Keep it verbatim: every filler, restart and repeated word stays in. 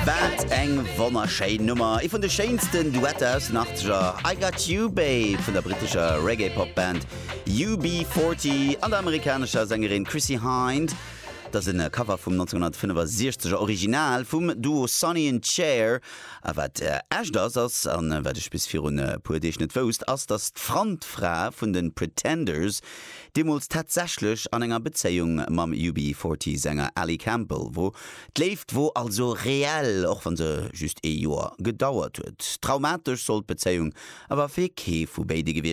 Wat eng wonnerschéin Nummer. Ee vun de schéinsten Duetter aus den Achtzeger, I Got You Babe vun der brittescher Reggae-Pop-Band U B forty an der amerikanescher Sängerin Chrissie Hynde. Dat ass e Cover vum nonzénghonnertfënnefasechzeger Original vum Duo Sonny and Cher. A wat äh, echt ass ass an äh, wat ech bis virun e puer Deeg net wousst, ass, dass d'Frontfra vun den Pretenders deemools tatsächlech an enger Bezéiung mam U B forty Sänger Ali Campbell wor. D'Léift wor also reell, och wann se just ee Joer gedauert huet. Traumatesch soll d'Bezéiung awer fir kee vu béide gewiescht